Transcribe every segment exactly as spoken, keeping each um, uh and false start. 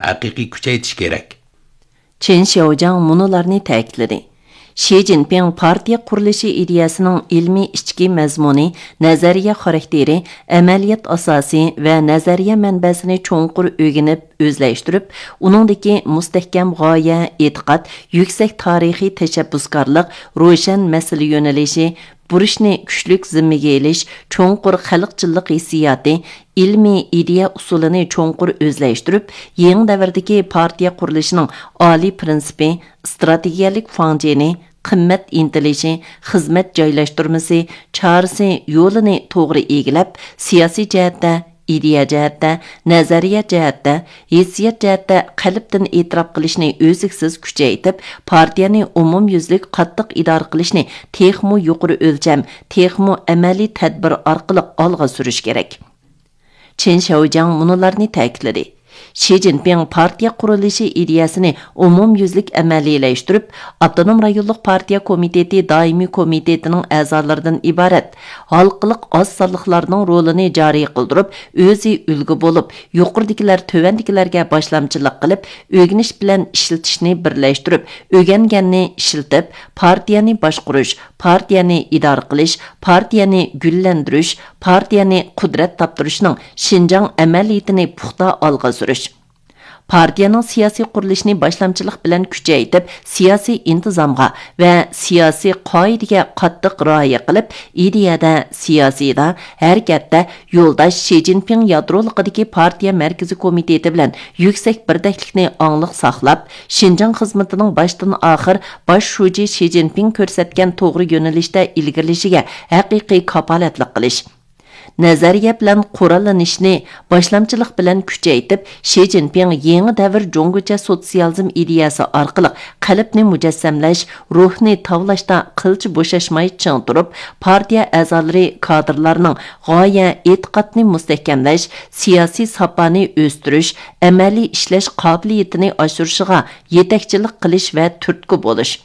ھەقىقىي كۈچەيتىش كېرەك. چېن شياۋجياڭ مۇنۇلارنى تەكىتلىدى: شى جىنپىڭ پارتىيە قۇرۇلۇشى ئىدىيەسىنىڭ ئىلمىي ئىچكى مەزمۇنى، نەزەرىيە خاراكتېرى، ئەمەلىيەت ئاساسى ۋە نەزەرىيە مەنبەسىنى چوڭقۇر ئۆگىنىپ ئۆزلەشتۈرۈپ، ئۇنىڭدىكى مۇستەھكەم غايە، ئېتىقاد، يۈكسەك تارىخىي تەشەببۇسكارلىق، روشەن مەسىلە يۆنىلىشى، بۇرچنى كۈچلۈك زىممىگە ئېلىش، چوڭقۇر خەلقچىللىق ھېسسىياتى، ئىلمىي ئىدىيە ئۇسۇلىنى چوڭقۇر ئۆزلەشتۈرۈپ، يېڭى دەۋردىكى پارتىيە قۇرۇلۇشىنىڭ ئالىي پىرىنسىپى، ئىستراتېگىيەلىك فاڭجېنى، قىممەت ئىنتىلىشى، خىزمەت جايلاشتۇرمىسى، چارىسى، يولىنى توغرا ئىگىلەپ، سىياسىي جەھەتتە، ئىدىيە جەھەتتە، نەزەرىيە جەھەتتە، ھېسسىيات جەھەتتە قەلبتىن ئېتىراپ قىلىشنى ئۈزلۈكسىز كۈچەيتىپ، پارتىيەنى ئومۇميۈزلۈك قاتتىق ئىدارە قىلىشنى تېخىمۇ يۇقىرى ئۆلچەم، تېخىمۇ ئەمەلىي تەدبىر ئارقىلىق ئالغا سۈرۈش كېرەك. چېن شياۋجياڭ مۇنۇلارنى تەكىتلىدى: شى جىنپىڭ پارتىيە قۇرۇلۇشى ئىدىيەسىنى ئومۇميۈزلۈك ئەمەلىيلەشتۈرۈپ، ئاپتونوم رايونلۇق پارتىيە كومىتېتى دائىمىي كومىتېتىنىڭ ئەزالىرىدىن ئىبارەت ھالقىلىق ئاز سانلىقلارنىڭ رولىنى جارى قىلدۇرۇپ، ئۆزى ئۈلگە بولۇپ، يۇقىرىدىكىلەر تۆۋەندىكىلەرگە باشلامچىلىق قىلىپ، ئۆگىنىش بىلەن ئىشلىتىشنى بىرلەشتۈرۈپ، ئۆگەنگەننى ئىشلىتىپ، پارتىيەنى باشقۇرۇش، پارتىيەنى ئىدارە قىلىش، پارتىيەنى گۈللەندۈرۈش، پارتىيەنى قۇدرەت تاپتۇرۇشنىڭ شىنجاڭ ئەمەلىيىتىنى پۇختا ئالغا سۈرۈش. پارتىيەنىڭ سىياسىي قۇرۇلۇشىنى باشلامچىلىق بىلەن كۈچەيتىپ، سىياسىي ئىنتىزامغا ۋە سىياسىي قائىدىگە قاتتىق رىئايە قىلىپ، ئىدىيەدە، سىياسىيدا، ھەرىكەتتە يولداش شى جىنپىڭ يادرولۇقىدىكى پارتىيە مەركىزىي كومىتېتى بىلەن يۈكسەك بىردەكلىكنى ئاڭلىق ساقلاپ، شىنجاڭ خىزمىتىنىڭ باشتىن ئاخىر باش شۇجى شى جىنپىڭ كۆرسەتكەن توغرا يۆنىلىشتە ئىلگىرىلىشىگە ھەقىقىي كاپالەتلىك قىلىش. نەزەرىيە بىلەن قوراللىنىشنى باشلامچىلىق بىلەن كۈچەيتىپ، شى جىنپىڭ يېڭى دەۋر جۇڭگوچە سوتسىيالىزم ئىدىيەسى ئارقىلىق قەلبنى مۇجەسسەملەش، روھنى تاۋلاشتا قىلچە بوشاشماي چىڭ تۇرۇپ، پارتىيە ئەزالىرى، كادىرلارنىڭ غايە، ئېتىقادنى مۇستەھكەملەش، سىياسىي ساپانى ئۆستۈرۈش، ئەمەلىي ئىشلەش قابىلىيىتىنى ئاشۇرۇشىغا يېتەكچىلىك قىلىش ۋە تۈرتكە بولۇش.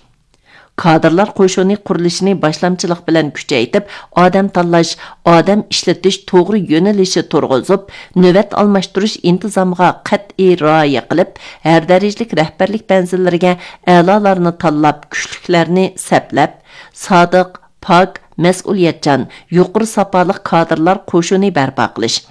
كادىرلار قوشۇنى قۇرۇلۇشىنى باشلامچىلىق بىلەن كۈچەيتىپ، ئادەم تاللاش، ئادەم ئىشلىتىش توغرا يۆنىلىشى تۇرغۇزۇپ، نۆۋەت ئالماشتۇرۇش ئىنتىزامىغا قەتئىي رىئايە قىلىپ، ھەر دەرىجىلىك رەھبەرلىك مەنزىللىرىگە ئەلالارنى تاللاپ، كۈچلۈكلەرنى سەپلەپ، سادىق، پاك، مەسئۇلىيەتچان، يۇقىرى ساپالىق كادىرلار قوشۇنى بەرپا قىلىش.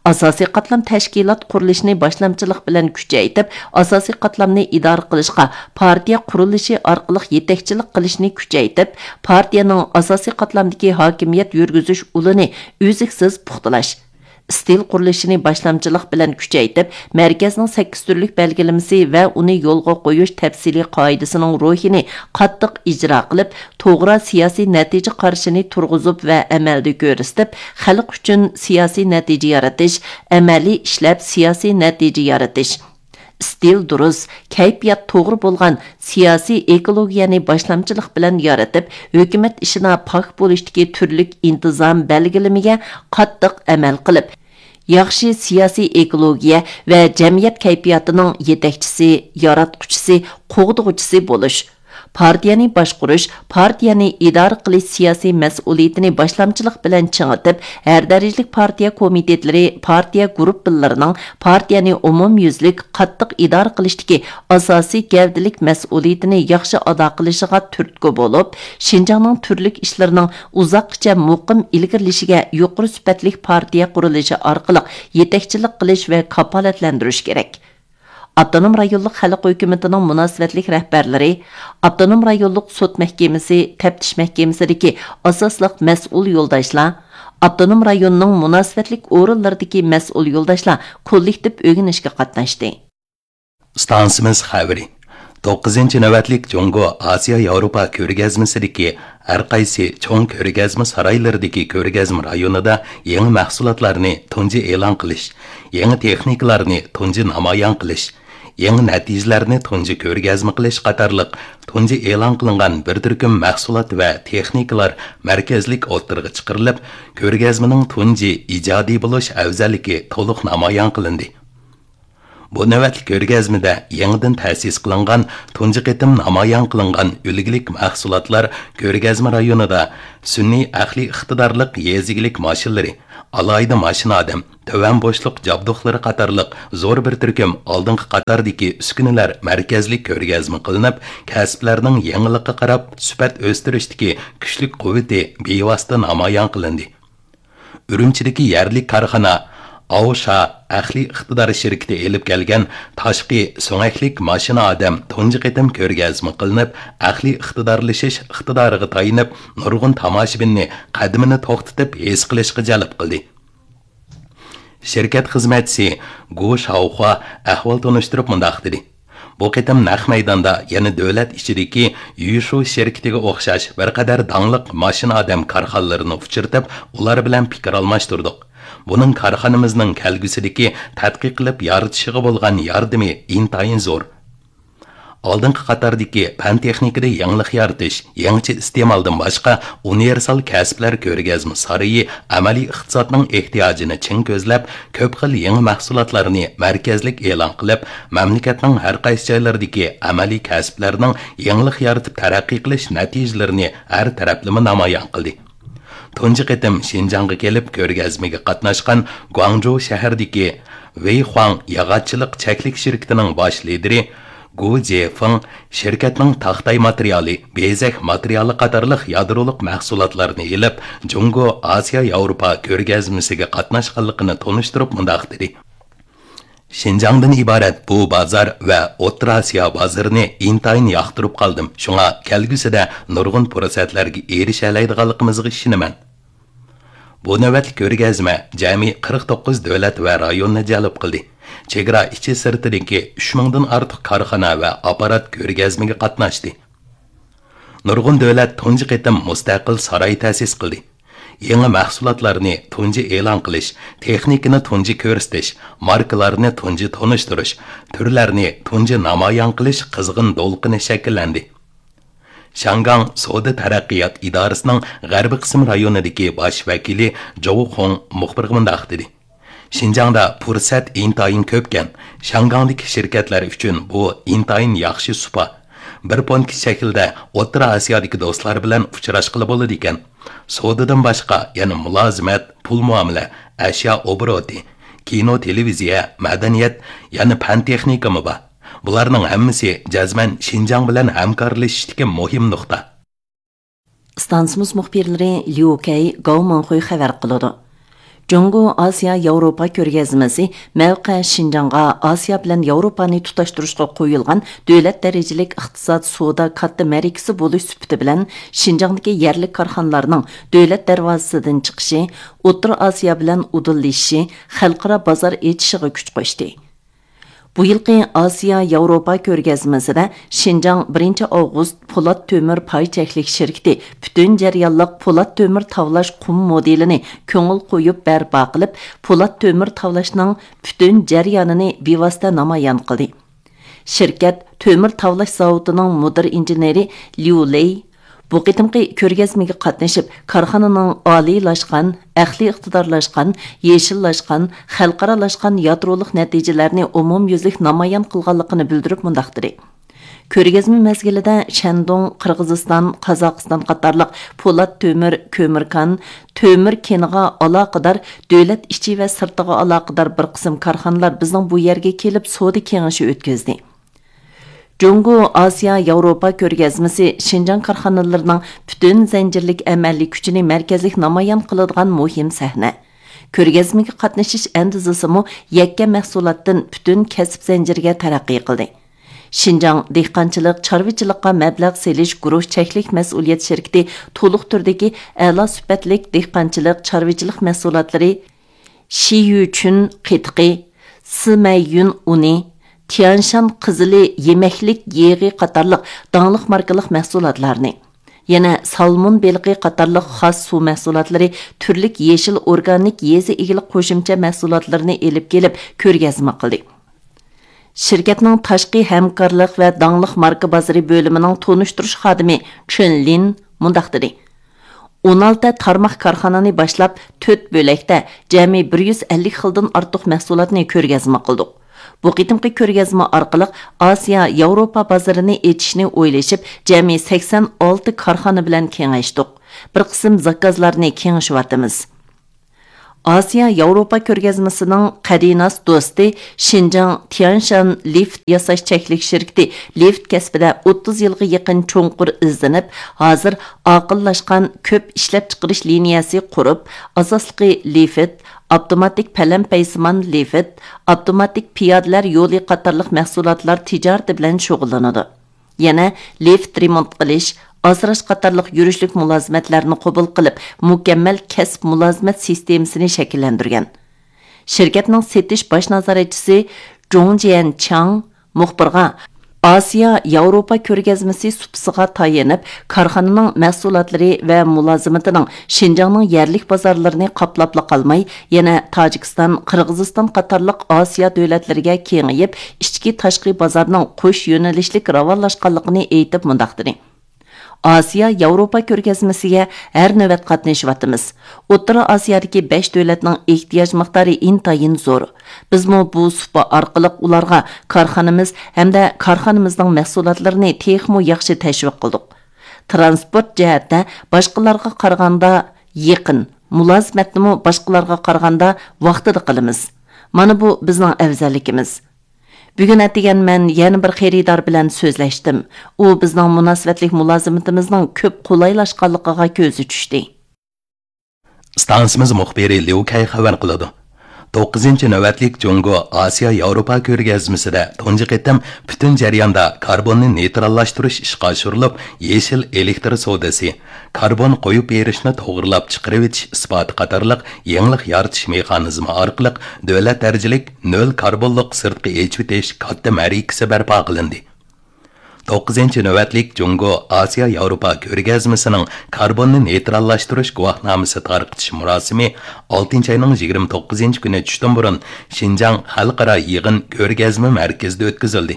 ئاساسىي قاتلام تەشكىلات قۇرۇلۇشىنى باشلامچىلىق بىلەن كۈچەيتىپ، ئاساسىي قاتلامنى ئىدارە قىلىشقا پارتىيە قۇرۇلۇشى ئارقىلىق يېتەكچىلىك قىلىشنى كۈچەيتىپ، پارتىيەنىڭ ئاساسىي قاتلامدىكى ھاكىمىيەت يۈرگۈزۈش ئۇلىنى ئۈزلۈكسىز پۇختىلاش. ئىستىل قۇرۇلۇشىنى باشلامچىلىق بىلەن كۈچەيتىپ، مەركەزنىڭ سەككىز تۈرلۈك بەلگىلىمىسى ۋە ئۇنى يولغا قويۇش تەپسىلىي قائىدىسىنىڭ روھىنى قاتتىق ئىجرا قىلىپ، توغرا سىياسىي نەتىجە قارىشىنى تۇرغۇزۇپ ۋە ئەمەلدە كۆرسىتىپ، خەلق ئۈچۈن سىياسىي نەتىجە يارىتىش، ئەمەلىي ئىشلەپ سىياسىي نەتىجە يارىتىش. ئىستىل دۇرۇس، كەيپىيات توغرا بولغان سىياسىي ئېكولوگىيەنى باشلامچىلىق بىلەن يارىتىپ، ھۆكۈمەت ئىشىدا پاك بولۇشتىكى تۈرلۈك ئىنتىزام بەلگىلىمىگە قاتتىق ئەمەل قىلىپ، ياخشى سىياسىي ئېكولوگىيە ۋە جەمئىيەت كەيپىياتىنىڭ يېتەكچىسى، ياراتقۇچىسى، قوغدىغۇچىسى بولۇش. پارتىيەنى باشقۇرۇش، پارتىيەنى ئىدارە قىلىش سىياسىي مەسئۇلىيىتىنى باشلامچىلىق بىلەن چىڭىتىپ، ھەر دەرىجىلىك پارتىيە كومىتېتلىرى، پارتىيە گۇرۇپپىلىرىنىڭ پارتىيەنى ئومۇميۈزلۈك قاتتىق ئىدارە قىلىشتىكى ئاساسىي گەۋدىلىك مەسئۇلىيىتىنى ياخشى ئادا قىلىشىغا تۈرتكە بولۇپ، شىنجاڭنىڭ تۈرلۈك ئىشلىرىنىڭ ئۇزاققىچە مۇقىم ئىلگىرىلىشىگە يۇقىرى سۈپەتلىك پارتىيە قۇرۇلۇشى ئارقىلىق يېتەكچىلىك قىلىش ۋە كاپالەتلەندۈرۈش كېرەك. ئاپتونوم رايونلۇق خەلق ھۆكۈمىتىنىڭ مۇناسىۋەتلىك رەھبەرلىرى، ئاپتونوم رايونلۇق سوت مەھكىمىسى، تەپتىش مەھكىمىسىدىكى ئاساسلىق مەسئۇل يولداشلار، ئاپتونوم رايوننىڭ مۇناسىۋەتلىك ئورۇنلىرىدىكى مەسئۇل يولداشلار كوللېكتىپ ئۆگىنىشكە قاتناشتى. ئىستانسىمىز خەۋىرى. توققۇزىنچى نۆۋەتلىك جۇڭگو ئاسىيا ياۋروپا كۆرگەزمىسىدىكى ھەر قايسى چوڭ كۆرگەزمە سارايلىرىدىكى كۆرگەزمە رايونىدا يېڭى مەھسۇلاتلارنى تۇنجى ئېلان قىلىش، يېڭى تېخنىكىلارنى تۇنجى نامايان قىلىش، يېڭى نەتىجىلەرنى تۇنجى كۆرگەزمە قىلىش قاتارلىق تۇنجى ئېلان قىلىنغان بىر تۈركۈم مەھسۇلات ۋە تېخنىكىلار مەركەزلىك ئوتتۇرىغا چىقىرىلىپ، كۆرگەزمىنىڭ تۇنجى ئىجادىي بولۇش ئەۋزەللىكى تولۇق نامايان قىلىندى. بۇ نۆۋەتلىك كۆرگەزمىدە يېڭىدىن تەسىس قىلىنغان، تۇنجى قېتىم نامايان قىلىنغان ئۈلگىلىك مەھسۇلاتلار كۆرگەزمە رايونىدا سۈنئىي ئەقلىي ئىقتىدارلىق يېزا ئىگىلىك ماشىنىلىرى، ئالاھىدە ماشىنا ئادەم، تۆۋەن بوشلۇق جابدۇقلىرى قاتارلىق زور بىر تۈركۈم ئالدىنقى قاتاردىكى ئۈسكۈنىلەر مەركەزلىك كۆرگەزمە قىلىنىپ، كەسىپلەرنىڭ يېڭىلىققا قاراپ سۈپەت ئۆستۈرۈشتىكى كۈچلۈك قۇۋۋىتى بىۋاسىتە نامايان قىلىندى. ئۈرۈمچىدىكى يەرلىك كارخانا ئاۋشا ئەقلىي ئىقتىدار شىركىتى ئېلىپ كەلگەن تاشقى سۆڭەكلىك ماشىنا ئادەم تۇنجى قېتىم كۆرگەزمە قىلىنىپ، ئەقلىي ئىقتىدارلىشىش ئىقتىدارىغا تايىنىپ، نۇرغۇن تاماشىبىننى قەدىمىنى توختىتىپ ھېس قىلىشقا جەلپ قىلدى. شىركەت خىزمەتچىسى گۇ شاۋخۇا ئەھۋال تونۇشتۇرۇپ مۇنداق دېدى: بۇ قېتىم نەق مەيداندا يەنە دۆلەت ئىچىدىكى يۈشۇ شىركىتىگە ئوخشاش بىر قەدەر داڭلىق ماشىنا ئادەم كارخانىلىرىنى ئۇچرىتىپ، ئۇلار بىلەن پىكىر ئالماشتۇردۇق. بۇنىڭ كارخانىمىزنىڭ كەلگۈسىدىكى تەتقىق قىلىپ يارىتىشىغا بولغان ياردىمى ئىنتايىن زور. ئالدىنقى قاتاردىكى پەن تېخنىكىدا يېڭىلىق يارىتىش، يېڭىچە ئىستېمالدىن باشقا ئۇنىۋېرسال كەسىپلەر كۆرگەزمە سارىيى ئەمەلىي ئىقتىسادنىڭ ئېھتىياجىنى چىڭ كۆزلەپ، كۆپ خىل يېڭى مەھسۇلاتلارنى مەركەزلىك ئېلان قىلىپ، مەملىكەتنىڭ ھەر قايسى جايلىرىدىكى ئەمەلىي كەسىپلەرنىڭ يېڭىلىق يارىتىپ تەرەققىي قىلىش نەتىجىلىرىنى ھەر تەرەپلىمە نامايان قىلدى. تۇنجى قېتىم شىنجاڭغا كېلىپ كۆرگەزمىگە قاتناشقان گۇاڭجۇ شەھىرىدىكى ۋېيخۇاڭ ياغاچچىلىق چەكلىك شىركىتىنىڭ باش لىدىرى گۇ جيېفېڭ شىركەتنىڭ تاختاي ماتېرىيالى، بېزەك ماتېرىيالى قاتارلىق يادرولۇق مەھسۇلاتلارنى ئېلىپ، جۇڭگو ئاسىيا ياۋروپا كۆرگەزمىسىگە قاتناشقانلىقىنى تونۇشتۇرۇپ مۇنداق دېدى: شىنجاڭدىن ئىبارەت بۇ بازار ۋە ئوتتۇرا ئاسىيا بازىرىنى ئىنتايىن ياقتۇرۇپ قالدىم. شۇڭا كەلگۈسىدە نۇرغۇن پۇرسەتلەرگە ئېرىشەلەيدىغانلىقىمىزغا ئىشىنىمەن. بۇ نۆۋەتلىك كۆرگەزمە جەمئىي قىرىق توققۇز دۆلەت ۋە رايوننى جەلپ قىلدى. چېگرا ئىچى سىرتىدىكى ئۈچ مىڭدىن ئارتۇق كارخانا ۋە ئاپپارات كۆرگەزمىگە قاتناشتى. نۇرغۇن دۆلەت تۇنجى قېتىم مۇستەقىل ساراي تەسىس قىلدى. يېڭى مەھسۇلاتلارنى تۇنجى ئېلان قىلىش، تېخنىكىنى تۇنجى كۆرسىتىش، ماركىلارنى تۇنجى تونۇشتۇرۇش، تۈرلەرنى تۇنجى نامايان قىلىش قىزغىن دولقۇنى شەكىللەندى. شياڭگاڭ سودا تەرەققىيات ئىدارىسىنىڭ غەربىي قىسىم رايونىدىكى باش ۋەكىلى جوۋ خۇڭ مۇخبىرغا مۇنداق دېدى: شىنجاڭدا پۇرسەت ئىنتايىن كۆپكەن. شياڭگاڭدىكى شىركەتلەر ئۈچۈن بۇ ئىنتايىن ياخشى سۇپا. بىر پونكىت شەكلىدە ئوتتۇرا ئاسىيادىكى دوستلار بىلەن ئۇچراشقىلى بولىدىكەن. سودىدىن باشقا يەنە مۇلازىمەت، پۇل مۇئامىلە، ئەشيا ئوبوروتى، كىنو، تېلېۋىزىيە، مەدەنىيەت، يەنە پەن تېخنىكىمۇ بار. بۇلارنىڭ ھەممىسى جەزمەن شىنجاڭ بىلەن ھەمكارلىشىشتىكى مۇھىم نۇقتا. ئىستانسىمىز مۇخبىرلىرى ليۇ كەي، گاۋ مىڭخۇي خەۋەر قىلىدۇ. جۇڭگو ئاسىيا ياۋروپا كۆرگەزمىسى مەۋقە شىنجاڭغا ئاسىيا بىلەن ياۋروپانى تۇتاشتۇرۇشقا قويۇلغان دۆلەت دەرىجىلىك ئىقتىساد سودا كاتتا مەرىكىسى بولۇش سۈپىتى بىلەن، شىنجاڭدىكى يەرلىك كارخانىلارنىڭ دۆلەت دەرۋازىسىدىن چىقىشى ئوتتۇرا ئاسىيا بىلەن ئۇدۇللىشىشى، خەلقئارا بازار ئېچىشىغا كۈچ قوشتى. بۇ يىلقى ئاسىيا ياۋروپا كۆرگەزمىسىدە شىنجاڭ بىرىنچى ئاۋغۇست پولات تۆمۈر پاي چەكلىك شىركىتى پۈتۈن جەريانلىق پولات تۆمۈر تاۋلاش قۇم مودېلىنى كۆڭۈل قويۇپ بەرپا قىلىپ، پولات تۆمۈر تاۋلاشنىڭ پۈتۈن جەريانىنى بىۋاسىتە نامايان قىلدى. شىركەت تۆمۈر تاۋلاش زاۋۇتىنىڭ مۇدىر ئىنژېنېرى ليۇ لېي، بۇ قېتىمقى كۆرگەزمىگە قاتنىشىپ، كارخانىنىڭ ئالىيلاشقان، ئەقلىي ئىقتىدارلاشقان، يېشىللاشقان، خەلقئارالاشقان يادرولۇق نەتىجىلەرنى ئومۇميۈزلۈك نامايان قىلغانلىقىنى بىلدۈرۈپ مۇنداق دېدى: كۆرگەزمە مەزگىلىدە شەندۇڭ، قىرغىزىستان، قازاقىستان قاتارلىق پولات تۆمۈر، كۆمۈر كان، تۆمۈر كېنىغا ئالاقىدار دۆلەت ئىچى ۋە سىرتىغا ئالاقىدار بىر قىسىم كارخانىلار بىزنىڭ بۇ يەرگە كېلىپ سودا كېڭىشى ئۆتكۈزدى. جۇڭگو ئاسىيا ياۋروپا كۆرگەزمىسى شىنجاڭ كارخانىلىرىنىڭ پۈتۈن زەنجىرلىك ئەمەلىي كۈچىنى مەركەزلىك نامايان قىلىدىغان مۇھىم سەھنە. كۆرگەزمىگە قاتنىشىش ئەندىزىسىمۇ يەككە مەھسۇلاتتىن پۈتۈن كەسىپ زەنجىرىگە تەرەققىي قىلدى. شىنجاڭ دېھقانچىلىق، چارۋىچىلىققا مەبلەغ سېلىش گۇرۇھ چەكلىك مەسئۇلىيەت شىركىتى تولۇق تۈردىكى ئەلا سۈپەتلىك دېھقانچىلىق، چارۋىچىلىق مەھسۇلاتلىرى، شىيۈچۈن قېتىقى، سىمەييۈن ئۇنى، تيانشان قىزىلى يېمەكلىك يېغى قاتارلىق داڭلىق ماركىلىق مەھسۇلاتلارنى، يەنە سالمون بېلىقى قاتارلىق خاس سۇ مەھسۇلاتلىرى، تۈرلۈك يېشىل ئورگانىك يېزا ئىگىلىك قوشۇمچە مەھسۇلاتلىرىنى ئېلىپ كېلىپ كۆرگەزمە قىلدى. شىركەتنىڭ تاشقى ھەمكارلىق ۋە داڭلىق ماركا بازىرى بۆلۈمىنىڭ تونۇشتۇرۇش خادىمى چېن لىن مۇنداق دېدى: ئون ئالتە تارماق كارخانىنى باشلاپ، تۆت بۆلەكتە جەمئىي بىر يۈز ئەللىك خىلدىن ئارتۇق مەھسۇلاتنى كۆرگەزمە قىلدۇق. بۇ قېتىمقى كۆرگەزمە ئارقىلىق ئاسىيا، ياۋروپا بازىرىنى ئېچىشنى ئويلىشىپ، جەمئىي سەكسەن ئالتە كارخانا بىلەن كېڭەشتۇق. بىر قىسىم زاكازلارنى كېڭىشىۋاتىمىز. ئاسىيا ياۋروپا كۆرگەزمىسىنىڭ قەدىناس دوستى، شىنجاڭ تيەنشان لىفت ياساش چەكلىك شىركىتى لىفت كەسپىدە ئوتتۇز يىلغا يېقىن چوڭقۇر ئىزدىنىپ، ھازىر ئاقىللاشقان كۆپ ئىشلەپچىقىرىش لىنىيەسى قۇرۇپ، ئاساسلىقى لىفت، ئاپتوماتىك پەلەمپەيسىمان لىفت، ئاپتوماتىك پىيادىلەر يولى قاتارلىق مەھسۇلاتلار تىجارىتى بىلەن شۇغۇللىنىدۇ. يەنە لىفت رېمونت قىلىش، ئاسراش قاتارلىق يۈرۈشلۈك مۇلازىمەتلەرنى قوبۇل قىلىپ، مۇكەممەل كەسىپ مۇلازىمەت سىستېمىسىنى شەكىللەندۈرگەن. شىركەتنىڭ سېتىش باش نازارەتچىسى جۇڭ جيەنچاڭ مۇخبىرغا، ئاسىيا ياۋروپا كۆرگەزمىسى سۇپىسىغا تايىنىپ، كارخانىنىڭ مەھسۇلاتلىرى ۋە مۇلازىمىتىنىڭ شىنجاڭنىڭ يەرلىك بازارلىرىنى قاپلاپلا قالماي، يەنە تاجىكىستان، قىرغىزىستان قاتارلىق ئاسىيا دۆلەتلىرىگە كېڭىيىپ، ئىچكى تاشقى بازارنىڭ قوش يۆنىلىشلىك راۋانلاشقانلىقىنى ئېيتىپ مۇنداق دېدى: ئاسىيا ياۋروپا كۆرگەزمىسىگە ھەر نۆۋەت قاتنىشىۋاتىمىز. ئوتتۇرا ئاسىيادىكى بەش دۆلەتنىڭ ئېھتىياج مىقدارى ئىنتايىن زور. بىزمۇ بۇ سۇپا ئارقىلىق ئۇلارغا كارخانىمىز ھەمدە كارخانىمىزنىڭ مەھسۇلاتلىرىنى تېخىمۇ ياخشى تەشۋىق قىلدۇق. تىرانسپورت جەھەتتە باشقىلارغا قارىغاندا يېقىن، مۇلازىمەتنىمۇ باشقىلارغا قارىغاندا ۋاقتىدا قىلىمىز. مانا بۇ بىزنىڭ ئەۋزەللىكىمىز. بۈگۈن ئەتىگەن مەن يەنە بىر خېرىدار بىلەن سۆزلەشتىم. ئۇ بىزنىڭ مۇناسىۋەتلىك مۇلازىمىتىمىزنىڭ كۆپ قولايلاشقانلىقىغا كۆزى چۈشتى. ئىستانسىمىز مۇخبىرى ليۇ كەي خەۋەر قىلىدۇ. توققۇزىنچى نۆۋەتلىك جۇڭگو ئاسىيا ياۋروپا كۆرگەزمىسىدە تۇنجى قېتىم پۈتۈن جەرياندا كاربوننى نېيتراللاشتۇرۇش ئىشقا ئاشۇرۇلۇپ، يېشىل ئېلېكتر سودىسى، كاربون قويۇپ بېرىشنى توغرىلاپ چىقىرىۋېتىش ئىسپاتى قاتارلىق يېڭىلىق يارىتىش مېخانىزمى ئارقىلىق دۆلەت دەرىجىلىك نۆل كاربونلۇق سىرتقا ئېچىۋېتىش كاتتا مەرىكىسى بەرپا قىلىندى. توققۇزىنچى نۆۋەتلىك جۇڭگو ئاسىيا ياۋروپا كۆرگەزمىسىنىڭ كاربوننى نېيتراللاشتۇرۇش گۇۋاھنامىسى تارقىتىش مۇراسىمى ئالتىنچى ئاينىڭ يىگىرمە توققۇزىنچى كۈنى چۈشتىن بۇرۇن شىنجاڭ خەلقئارا يىغىن كۆرگەزمە مەركىزىدە ئۆتكۈزۈلدى.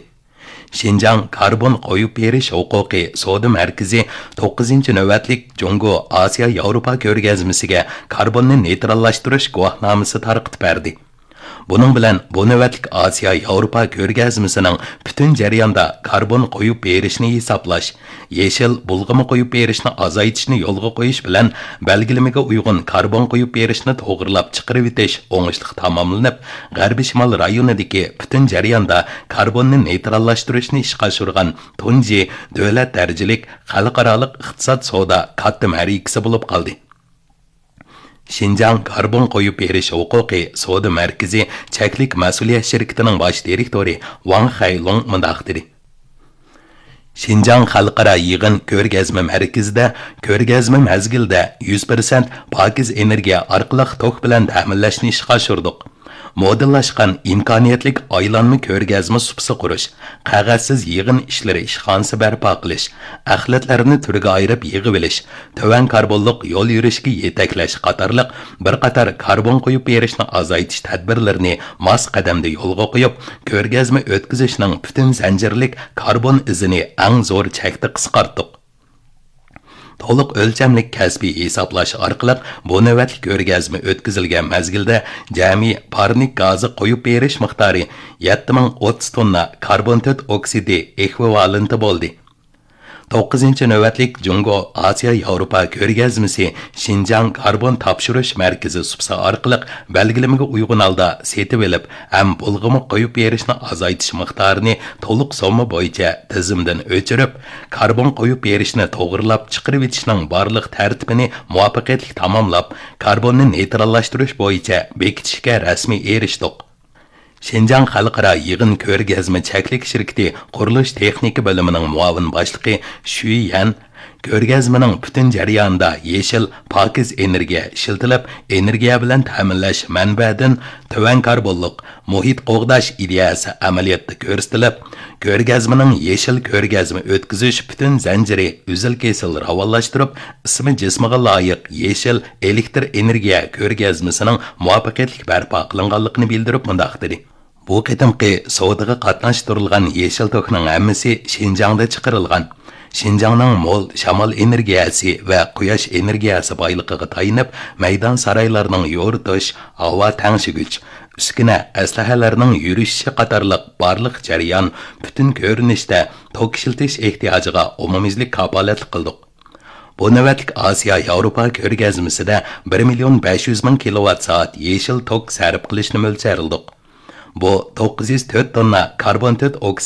شىنجاڭ كاربون قويۇپ بېرىش ھوقۇقى سودا مەركىزى توققۇزىنچى نۆۋەتلىك جۇڭگو ئاسىيا ياۋروپا كۆرگەزمىسىگە كاربوننى نېيتراللاشتۇرۇش گۇۋاھنامىسى تارقىتىپ بەردى. بۇنىڭ بىلەن بۇ نۆۋەتلىك ئاسىيا ياۋروپا كۆرگەزمىسىنىڭ پۈتۈن جەرياندا كاربون قويۇپ بېرىشنى ھېسابلاش، يېشىل بۇلغىما قويۇپ بېرىشنى ئازايتىشنى يولغا قويۇش بىلەن بەلگىلىمىگە ئۇيغۇن كاربون قويۇپ بېرىشنى توغرىلاپ چىقىرىۋېتىش ئوڭۇشلۇق تاماملىنىپ، غەربىي شىمال رايونىدىكى پۈتۈن جەرياندا كاربوننى نېيتراللاشتۇرۇشنى ئىشقا ئاشۇرغان تۇنجى دۆلەت دەرىجىلىك خەلقئارالىق ئىقتىساد سودا كاتتا مەرىكىسى بولۇپ قالدى. شىنجاڭ كاربون قويۇپ بېرىش ھوقۇقى سودا مەركىزى چەكلىك مەسئۇلىيەت شىركىتىنىڭ باش دىرېكتورى ۋاڭ خەيلۇڭ مۇنداق دېدى: شىنجاڭ خەلقئارا يىغىن كۆرگەزمە مەركىزىدە كۆرگەزمە مەزگىلىدە يۈز پىرسەنت پاكىز ئېنېرگىيە ئارقىلىق توك بىلەن تەمىنلەشنى ئىشقا ئاشۇردۇق. مودېللاشقان ئىمكانىيەتلىك ئايلانما كۆرگەزمە سۇپىسى قۇرۇش، قەغەزسىز يىغىن ئىشلىرى ئىشخانىسى بەرپا قىلىش، ئەخلەتلەرنى تۈرگە ئايرىپ يىغىۋېلىش، تۆۋەن كاربونلۇق يول يۈرۈشكە يېتەكلەش قاتارلىق بىر قاتار كاربون قويۇپ بېرىشنى ئازايتىش تەدبىرلىرىنى ماس قەدەمدە يولغا قويۇپ، كۆرگەزمە ئۆتكۈزۈشنىڭ پۈتۈن زەنجىرلىك كاربون ئىزىنى ئەڭ زور چەكتە قىسقارتتۇق. تولۇق ئۆلچەملىك كەسپىي ھېسابلاش ئارقىلىق بۇ نۆۋەتلىك كۆرگەزمە ئۆتكۈزۈلگەن مەزگىلدە جەمئىي پارنىك گازى قويۇپ بېرىش مىقدارى يەتتە مىڭ ئوتتۇز توننا كاربون تۆت ئوكسىدى ئېكۋىۋالېنتى بولدى. توققۇزىنچى نۆۋەتلىك جۇڭگو ئاسىيا ياۋروپا كۆرگەزمىسى شىنجاڭ كاربون تاپشۇرۇش مەركىزى سۇپىسى ئارقىلىق بەلگىلىمىگە ئۇيغۇن ھالدا سېتىۋېلىپ ھەم بۇلغىما قويۇپ بېرىشنى ئازايتىش مىقدارىنى تولۇق سومما بويىچە تىزىمدىن ئۆچۈرۈپ، كاربون قويۇپ بېرىشنى توغرىلاپ چىقىرىۋېتىشنىڭ بارلىق تەرتىپىنى مۇۋەپپەقىيەتلىك تاماملاپ، كاربوننى نېيتراللاشتۇرۇش بويىچە بېكىتىشكە رەسمىي ئېرىشتۇق. شىنجاڭ خەلقئارا يىغىن كۆرگەزمە چەكلىك شىركىتى قۇرۇلۇش تېخنىكا بۆلۈمىنىڭ مۇئاۋىن باشلىقى شۈي يەن كۆرگەزمىنىڭ پۈتۈن جەريانىدا يېشىل، پاكىز ئېنېرگىيە ئىشلىتىلىپ، ئېنېرگىيە بىلەن تەمىنلەش مەنبەدىن تۆۋەن كاربونلۇق مۇھىت قوغداش ئىدىيەسى ئەمەلىيەتتە كۆرسىتىلىپ، كۆرگەزمىنىڭ يېشىل كۆرگەزمە ئۆتكۈزۈش پۈتۈن زەنجىرى ئۈزۈل-كېسىل راۋانلاشتۇرۇپ، ئىسمى جىسمىغا لايىق يېشىل ئېلېكتر ئېنېرگىيە كۆرگەزمىسىنىڭ مۇۋەپپەقىيەتلىك بەرپا قىلىنغانلىقىنى بىلدۈرۈپ مۇنداق دېدى: بۇ قېتىمقى سودىغا قاتناشتۇرۇلغان يېشىل توكنىڭ ھەممىسى شىنجاڭدا چىقىرىلغان. شىنجاڭنىڭ مول شامال ئېنېرگىيەسى ۋە قۇياش ئېنېرگىيەسى بايلىقىغا تايىنىپ، مەيدان سارايلارنىڭ يورۇتۇش، ھاۋا تەڭشىگۈچ، ئۈسكۈنە، ئەسلىھەلەرنىڭ يۈرۈشۈشى قاتارلىق بارلىق جەريان پۈتۈن كۆرۈنۈشتە توك ئىشلىتىش ئېھتىياجىغا ئومۇميۈزلۈك كاپالەتلىك قىلدۇق. بۇ نۆۋەتلىك ئاسىيا ياۋروپا كۆرگەزمىسىدە بىر مىليون بەش يۈز مىڭ كىلوۋات سائەت يېشىل توك سەرپ قىلىشنى مۆلچەرلىدۇق. بۇ توققۇز يۈز تۆت توننا كاربون تۆت ئوكسىد